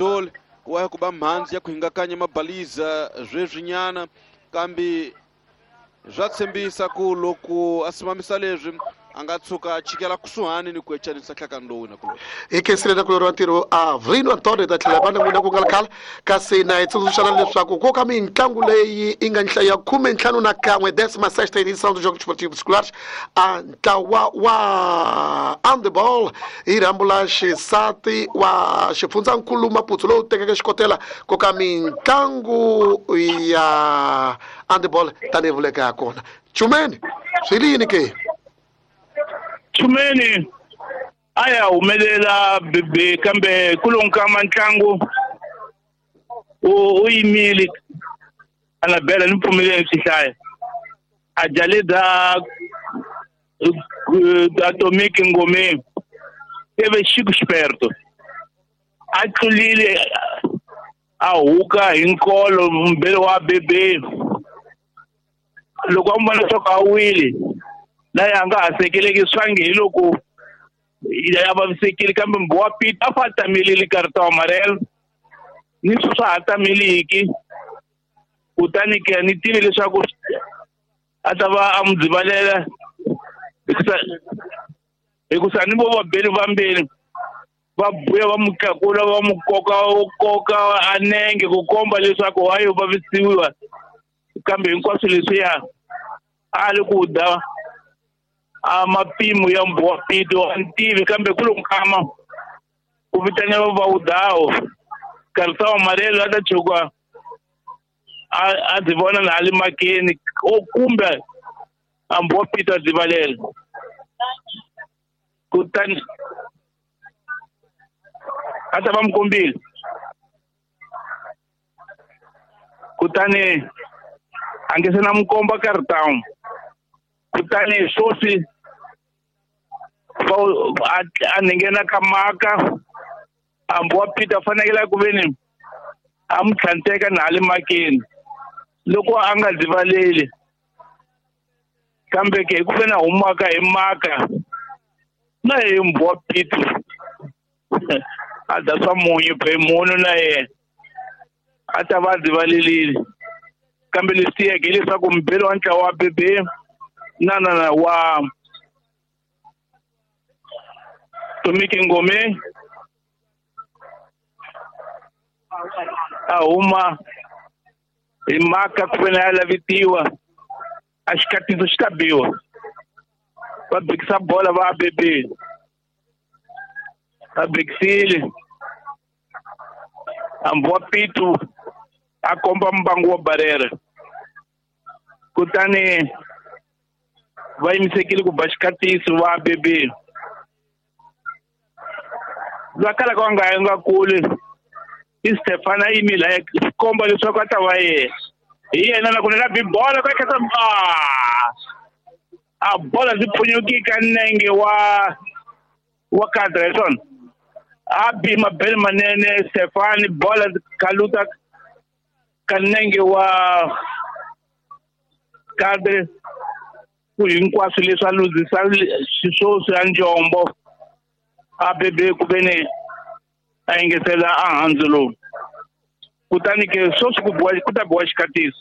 Dole wa ya ku ba mhandzi ya ku hingakanya mabaliza sweswinyana, kambe swa tshembisa ku loko a simamisa leswi a nga tshuka a chikela kusuhani ni ku ecanisa nhlakano lowu na kuloni. Hi khensile na kulori wa ntirho a Vrino Antonio ta tlhela va na n'wina ku nga ri khale, kasi na hi tsundzuxana leswaku ko ka mitlangu leyi yi nga nhlayo ya 51, décima sexta edição do Jogos Esportivos Escolares, a ntlawa wa handball hi rhambu la xisati wa xifundzankulu Maputo lowu tekeke xikotela ko ka mitlangu ya handball tanihi vuleka ya kona. Chumeni, swi li yini ke? Chumeni a ya humelela bebe, kambe ku lo nkama ntlangu u yimile a nga bela ni pfumeleni swi hlaya a jaleda Atomic Ngomeni teve Chico Esperto a tlulile a huka hi nkolo mbele wa bebe. Loko a n'wi vona leswaku a wile na yena a nga ha sekeleki swangi hi loko ya vavisekile, kambe mbu wa Pete a fa tamelile cartão amarelo ni swi swa ha tameliki. Kutani ke ni tivi leswaku a ta va a n'wi dzivalela hikusa ni vo vabeli vambirhi va buya va n'wi tlakula va n'wi koka koka a nenge ku komba leswaku wa yo vavisiwa, kambe hinkwaswo leswiya a li ku da a mapimo ya mbu wa Pito a ni tivi, kambe ku lo nkama ku vitaniwa va wudawo cartão amarelo a ta tshuka a dzi vona na a le makeni o kumbe a mbu wa Pito a dzivalela. Kutani a ta va n'wi kombile, kutani a nge se na n'wi komba cartão. Kutani swoswi a nghena ka maka a mbu wa Pito a fanekele ku veni a n'wi tlhanteka na le makeni loko a nga dzivaleli, kambe ke hi ku veni a humaka hi maka na hi mbu wa Pito a da swa munyu phe munhu na yena a ta va a dzivalelile. Kambe leswi tiyeke hileswaku mubeli wa ntlawa wa bebe na na na wa Tomiki Ngome a huma hi maka ku veni a lavitiwa a xikatiso xi ta biwa va bikisa bola va bebe va bikisile hambi wa Pito a komba mbangu wa barera. Kutani va yimisekile ku ba xikatiso va bebe va kala ka nga nga kule i Stefana yimile a komba leswaku a ta va yena hi yena na ku na bi bola ka kha a bola ndzi phunyuki ka nenge wa kadra hi swona a bi mabele manene Stefani bola khaluta ka nenge wa kadre ku hinkwaswo leswi a luzisa xiswoswi ya njombo a bebe ku veni a engetela a handzu lowu. Kutani ke swoswi ku biwa ku ta biwa xikatiso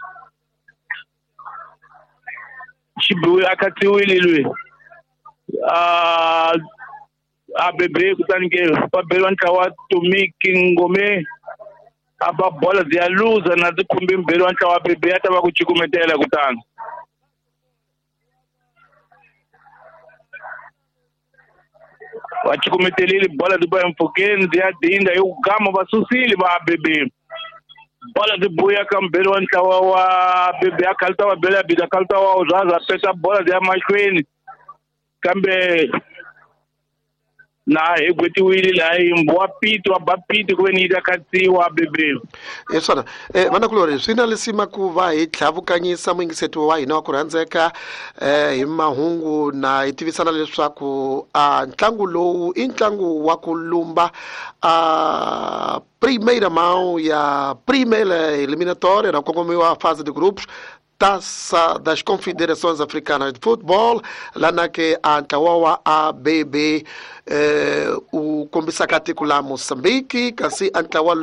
xi biwe a khatsiwile lwe a bebe. Kutani ke va beriwa ntlawa Tomiki Ngome a ba bola byi ya luza na ti khumbi mbirhi wa ntlawa bebe a ta va ku cukumetela. Kutani va cukumetelile bola ti boya mpfhukeni byi ya dinda hi ku gama va susile va bebe bola ti buya ka mbirhi wa ntlawa wa bebe a khalita va bela bida khalita wa zaza peta bola byi ya mahlweni, kambe na hi gwetiwile laha hi wa Pito wa ba Pito ku veni yi ta khatsiwa bebe. Hi swona vanakulori swi na lisima ku va hi tlhavukanyisa muyingiseti wa hina wa ku rhandzeka hi mahungu na hi tivisana leswaku a ntlangu lowu i ntlangu wa ku lumba a primeira mão ya primeira eliminatória na kongomiwa fase de grupos. Taça das Confederações Africanas de Football, lana ke a ntlawa wa ABB u kombisaka tiko la Mozambique, kasi a ntlawa